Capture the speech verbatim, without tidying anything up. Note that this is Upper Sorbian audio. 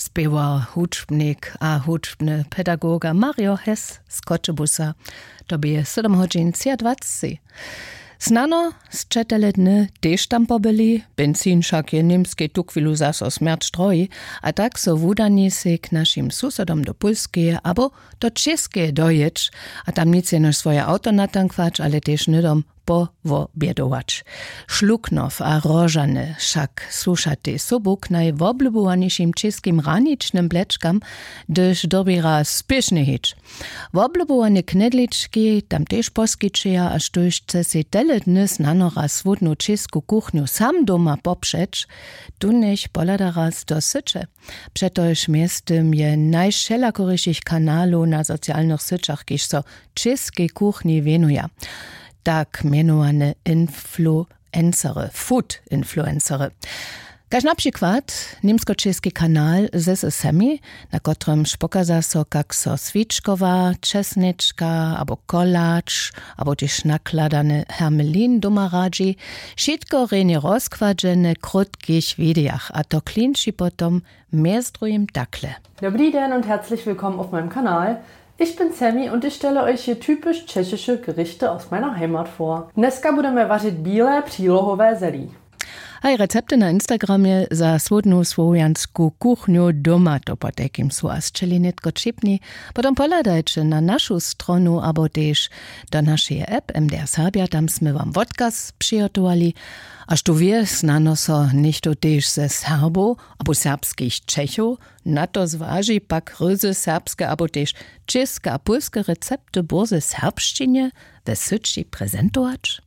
Spěwar, hudźbnik a hudźbny pedagoga Mario Hess z Choćebuza. To bě sydom hodźin třiadwaceći. Snano sće tele dny tež tam pobyli. Benzin wšak je w Němskej tuchwilu zaso smjerć drohi, a tak so wudani sej k našim susodom do Pólskeje abo do Čěskeje dojěć a tam nic jenož swoje awto natankwać, ale tež hnydom powobjedować. Šluknow a Rožany wšak słušatej sobu k najwoblubowanišim čěskim hraničnym blečkam, hdyž dyrbjera spěšnje hić. Woblubowane knedlički tam tež poskićeja a štóž chce sej tele dny snano raz słódnu čěsku kuchnju sam doma popřeć, tu njech pohlada raz do syće. Přetož mjeztym je najwšelakorišich kanalow na socialnych syćach, kiž so čěskej kuchnji wěnuja, tak mjenowane influencery, food influencery, kaž na přikład němskočěski kanal This is Sammy, na kotrymž pokaza so, kak so swičkowa, česnječka abo kolač abo tež nakladany hermelin doma radźi. Wšitko rjenje rozkładźene w krótkich widejach, a to klinči potom mjez druhim takle. Dobrý den und herzlich willkommen auf meinem Kanal. Ich bin Sammy und ich stelle euch hier typisch tschechische Gerichte aus meiner Heimat vor. Dneska budeme vařit bílé přílohové zelí. Haj, recepty na Instagramje za słódnu słowjansku kuchnju doma, to potajkim su a sćeli nětko ćipni. Potom pohladajće na našu stronu abo tež do našeje app M D R Serbja, tam smy wam wotkaz přihotowali. A štó wě, snano so něchtó tež ze Serbow abo serbskich Čechow na to zwaži, pak ryzy serbske abo tež čěske a pólske recepty bórze w serbšćinje we syći prezentować.